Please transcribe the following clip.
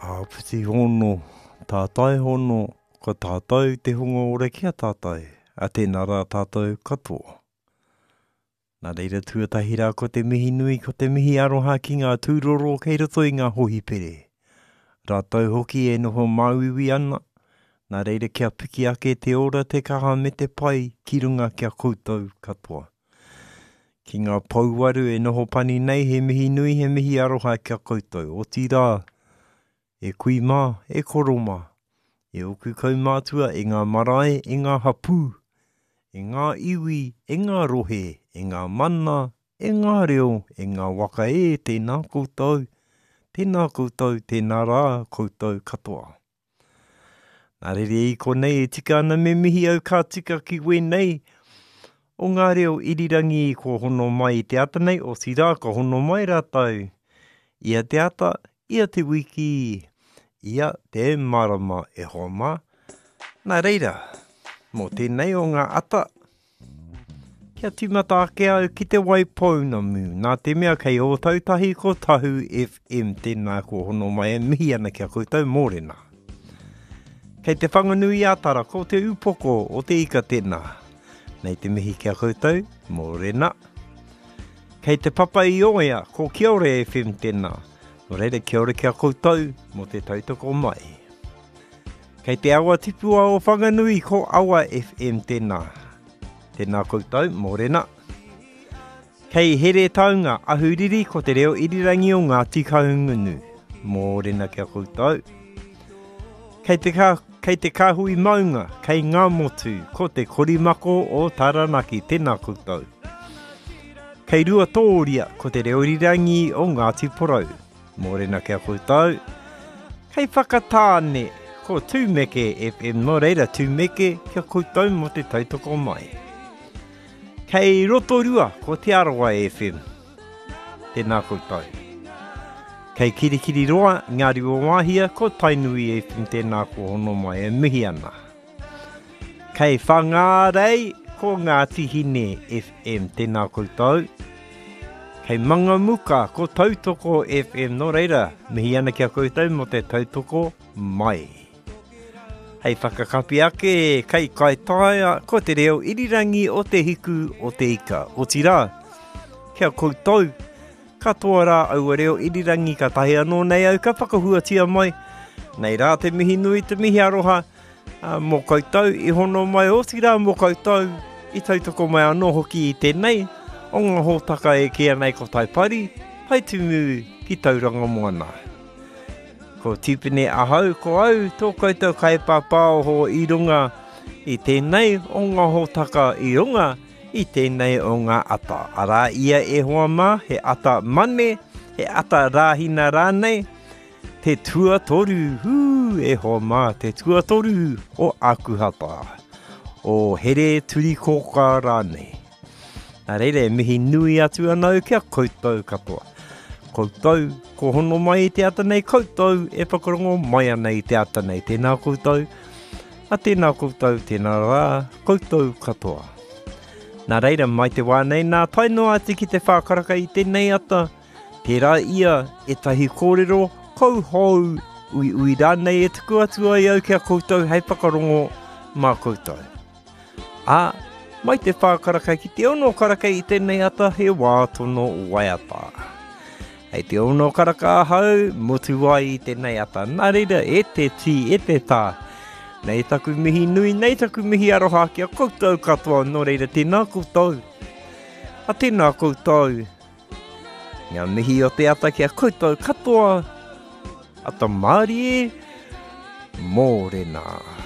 Āpiti hono, tātai hono, ko tātou te hunga ora ki a tātou, a tēnā rā tātou katoa. Nā reira tuatahi rā ko te mihi nui, ko te mihi aroha ki ngā tūroro kei roto i ngā hōhipere. Rātou hoki e noho māuiui ana, nā reira kia piki ake te ora, te kaha me te pai ki runga ki a koutou katoa. Ki ngā pouwaru e noho pani nei he mihi nui, he mihi aroha ki a koutou, otirā, E kui mā, e koro mā, e ōku kaumātua, e ngā marae, e ngā hapū, e ngā iwi, e ngā rohe, e ngā mana, e ngā reo, e ngā waka e, tēnā koutou, tēnā koutou, tēnā rā koutou katoa. Nā reira i konei e tika ana me mihi au ka tika ki wēnei o ngā reo irirangi kua hono mai i te ata nei, otirā ka hono mai rātou ia te ata, ia te wiki, ia te marama e hoa mā. Nā reira, mō tēnei o ngā ata, Kia tīmata ake au ki te Waipounamu, nā te mea kei Ōtautahi ko Tahu FM tēnā ko hono mai e mihi ana ki a koutou mōrena. Kei te Whanganui-ā-Tara ko te upoko o te ika tēnā. Nei te mihi ki a koutou mōrena. Kei te Papa i Oea ko Kiore FM tēnā. Nō reira kia ora ki a koutou mō te tautoko mai. Kei te awa tipua o Whanganui ko Awa FM tēnā. Tēnā koutou, mōrena. Kei Heretaunga, Ahuriri ko te reo irirangi o Ngāti Kahungunu. Mōrena ki a koutou. Kei te, ka, kei te kāhui maunga, kei Ngāmotu, ko te korimako o Taranaki. Tēnā koutou. Kei Ruatōria, ko te reo irirangi o Ngāti Porou. Mōrena ki a koutou. Kei Whakatāne, ko Tūmeke FM, nō reira Tūmeke ki a koutou mō te tautoko mai. Kei Rotorua, ko Te Arawa FM. Tēnā koutou. Kei Kirikiriroa, Ngāruawāhia, ko Tainui FM, tēnā ko hono mai e mihi ana. Kei Whangārei, ko Ngāti Hine FM, tēnā koutou. Kei Mangamuka, ko Tautoko FM, nō reira, mihi ana ki a koutou mō te tautoko mai. Hei whakakapi ake, kei Kaitaia, ko te reo irirangi o te hiku o te ika. Otirā, ki a koutou, katoa rā aua reo irirangi katahi anō nei au ka whakahuatia mai. Nei rā te mihi nui, te mihi aroha, mō koutou i hono mai, otirā mō koutou i tautoko mai anō hoki i tēnei o ngā hōtaka e kīia nei ko Taipari, Taitumu ki Tauranga Moana. Ko Tipene ahau, ko au tō koutou kaipāpāoho i runga i tēnei o ngā hōtaka i runga i tēnei o ngā ata. Arā ia e hoa mā, he ata mane, he ata rāhina rānei, Te tuatoru, hū, e hoa mā, te tuatoru o Ākuhata, o Here Turikōkā rānei. Nā reira, e mihi nui atu ana au ki a koutou katoa. Koutou, ko hono mai i te ata nei, koutou e whakarongo mai ana i te ata nei. Tēnā koutou, a tēnā koutou, tēnā rā, koutou katoa. Nā reira, mai te wā nei nā, tae noa atu ki te whākaraka i tēnei ata, Tērā ia ētahi kōrero kauhou, uiui rānei e tuku atu ai au ki a koutou hei whakarongo mā koutou. Ā, mai te whā karaka ki te ono karaka i tēnei ata he wā tono waiata. Hei te ono karaka ahau, motu ai i tēnei ata. Nā reira, e te tī, e te tā, nei taku mihi nui, nei taku mihi aroha ki a koutou katoa, nō reira tēnā koutou. A tēnā koutou. Ngā mihi o te ata ki a koutou katoa. Ata mārie, mōrena.